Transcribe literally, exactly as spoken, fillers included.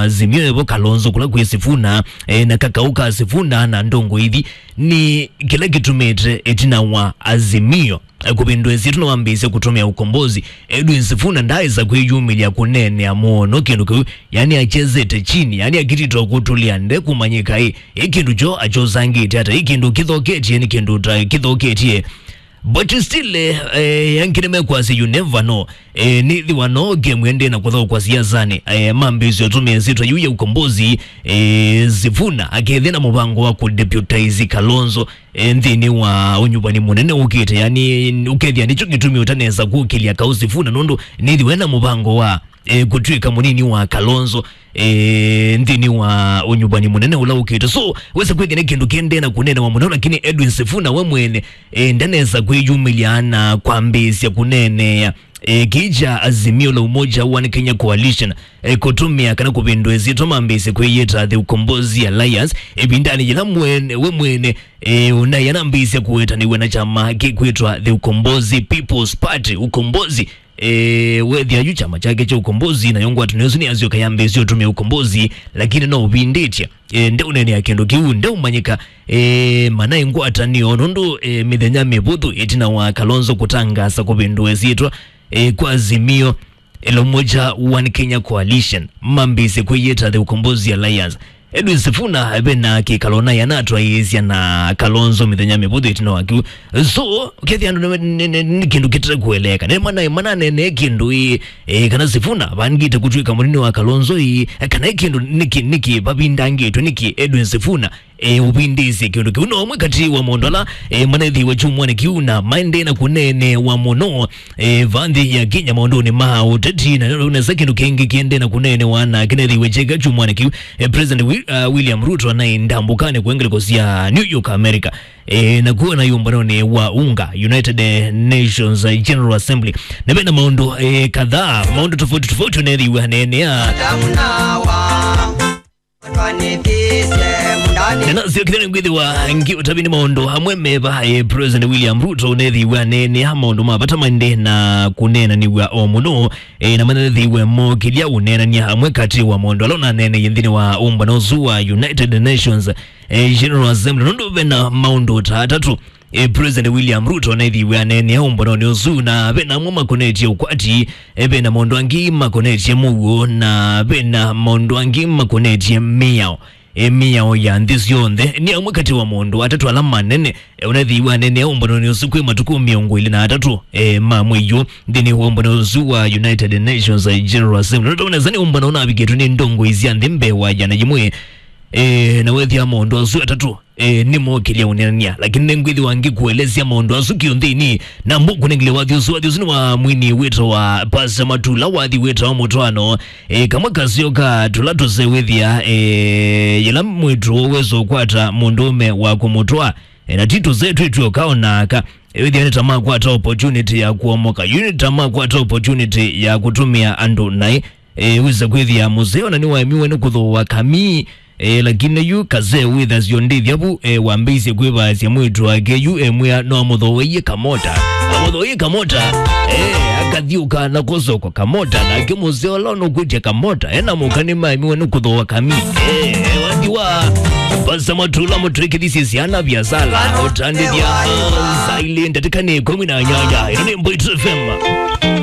Azimio evo Kalonzo kũla kwĩ Sifuna, e, na kakaũ ka Sifuna na ndongo ithi nĩ kĩla kĩtumĩte ĩtina wa Azimio, e, kũvĩndũa ĩsyĩtwa na wambĩĩsya kũtũmĩa ũkombozi. Edwin Sifuna ndaaĩsa kwĩyumĩlya kũneenea mũno kĩndũ kĩu, yani achezete chini, yani akititwa kũtũlĩa nde kũmanyĩka ĩ, ĩ kĩndũ kyo achosangĩte ata, ĩ kĩndũ kĩthoketye, nĩ kĩndũ ta kĩthoketye. But still, eh, eh, angĩ nĩmekwasya you never know. Eh, nĩthiwa no game ende na kũthokwa siasanĩ. Eh, mambĩĩsya ũtũmĩa ĩsyĩtwa yu ya ũkombozi, eh, Sifuna akethĩa na mũvango wa kũdeputize Kalonzo, eh, nthĩnĩ wa ũnyuvani mũnene ũkĩte. Yani, ũkethĩa nĩkyo kĩtumi ũtanesa kũkĩlya kaũ Sifuna, nũndũ nĩthiwe na mũvango wa, eh, kũtw'ĩka mũnini wa Kalonzo, eh, nthĩnĩ wa ũnyuvani mũnene ũla ũkĩte. So, wesa kwĩthĩa nĩ kĩndũ kĩendee na kũneenewa mũno, lakini Edwin Sifuna we mwene, eh, ndanesa kwĩyumĩlya na kwambĩĩsya kũneenea, eh, kĩĩ kya Azimio la Umoja One Kenya Coalition, eh, kũtũmĩa kana kũvĩndũa ĩsyĩtwa mambĩĩsye kwĩyĩta The Ukombozi Alliance, ĩvindanĩ yĩla mwene, we mwene, eh, ũnaĩ anambĩĩsya kũwetanĩw'a na kyama kĩkwĩtwa The Ukombozi People's Party, Ukombozi. E, wethĩa yu kyama kyake kya ũkombozi, nayo ngwatanĩo ĩsu nĩyasyoka yambĩĩsye ũtũmĩa ũkombozi, lakini no ũvindĩtye. E, ndeũneenea kĩndũ kĩu, ndeũmanyĩka, e, mana ĩ ngwatanĩo, nũndũ, e, mĩthenya mĩvũthũ ĩtina wa Kalonzo kũtangaasa kũvĩndũa ĩsyĩtwa, e, kwa Azimio la Umoja One Kenya Coalition, mambĩĩsye kwĩyĩta The Ukombozi Alliance. Edwin Sifuna ve na kĩkalo naĩ anatwaĩĩsya na Kalonzo mĩthenya mĩvũthũ ĩtina wa kĩu. So, ũkethĩa andũ nĩ, nĩ, nĩ, nĩ kĩndũ kĩte kũeleeka. Nĩ mana, mananeenee kĩndũ ĩ, e, kana Sifuna vangĩte kũtw'ĩka mũnini wa Kalonzo ĩ, e, kana ĩ kĩndũ nĩkĩ, nĩkĩ vavindangĩtwe, nĩkĩ Edwin Sifuna, e, ũvindĩĩsye kĩndũ kĩu. No ũmwe katĩ wa maũndũ ala, e, manethĩiwe kyumwanĩ kĩu na maendee na kũneenewa mũno, e, va nthĩ ya Kenya maũndũnĩ ma ũteti, na nesa kĩndũ kĩngĩ kĩendee na kũneenewa na kĩnethĩiwe kyeka kyumwanĩ kĩu, e, President Wi-, uh, William Ruto anaĩ ndambũkanĩ kũe ngeleko sya New York, America, e, na kuo na ũmbanonĩ wa UNGA, United Nations General Assembly. Na ve na maũndũ, e, kadhaa, maũndũ tofauti tofauti ũnethĩiwe aneenea. Adamu na Hawa. Na nasyo kĩthĩnĩ ngwĩthĩwa ngĩ ũtavini maũndũ amwe meva, e, President William Ruto ũnethĩiwe aneenea maũndũ ma vata maendee na kũneenanĩw'a o mũno, e, na manethĩiwe mokĩlya ũneenany'a amwe katĩ wa maũndũ ala ũnaneeneie nthĩnĩ wa ũmbano ũsu wa United Nations, e, General Assembly, nũndũ ve na maũndũ ta atatũ. E, President William Ruto nĩthiwe aneenea ũmbanonĩ ũsu, na ve na amwe makonetye ũkwati, e, ve na maũndũ angĩ makonetye mũuo, na ve na maũndũ angĩ makonetye mĩao, e, mĩao ya nthĩ syonthe. Nĩ amwe katĩ wa maũndũ atatũ ala manene, e, ũnathiwe aneenea ũmbanonĩ ũsu kwĩ matukũ mĩongo ĩlĩ na atatũ, e, ma mwei ũyũ nthĩnĩ wa ũmbano ũsu wa United Nations, e, General Assembly. Nũndũ nesa nĩ ũmbano ũnavikĩtwe nĩ ndongoi sya nthĩ mbee wa yĩana yĩmwe, e, na wethĩa maũndũ asu atatũ e, nĩmokĩlya ũneenany'a, lakini nĩngwĩthĩwa ngĩkũelesya maũndũ asu kĩũnthĩnĩ, na mbũkũnengele wathi ũsu. Wathi ũsu nĩ wa mwini wĩtawa Pastor Matula, wathi wĩtawa Mũtwaano. E, kamwe kaseo ka tũla tũsewĩthĩa, e, yĩla mwĩĩtu wesa ũkwata mũndũũme wa kũmũtwaa, e, na ti tũsee twĩtw'e ũkaonaka. E, wĩthĩa nĩ ta makwata opportunity ya kũomoka. Yu nĩ ta makwata opportunity ya kũtũmĩa andũ naĩ. E, wĩsa kwĩthĩa mũseo na nĩwaemiwe nĩ kũthooa kamii. E, lakini yu kasee wĩthasyo ndĩthya vu, e, wambĩĩsye kwĩvaasya mwĩĩtu wake yu emwĩa no amũthooeie kamota. Amũthooeie kamota. E, akathiũka na kũsoko kamota, nake mũseo ũla nũkwĩtya kamota ena mũka nĩmaemiwe nĩ kũthooa kamii. E, e, wathi wa Pastor Matula mũtwĩkĩthisye syana viasala ũtandĩthya, ah, saili ndatĩka nĩ ĩkũmi na nyanya. Ĩno nĩ Mboitu F M.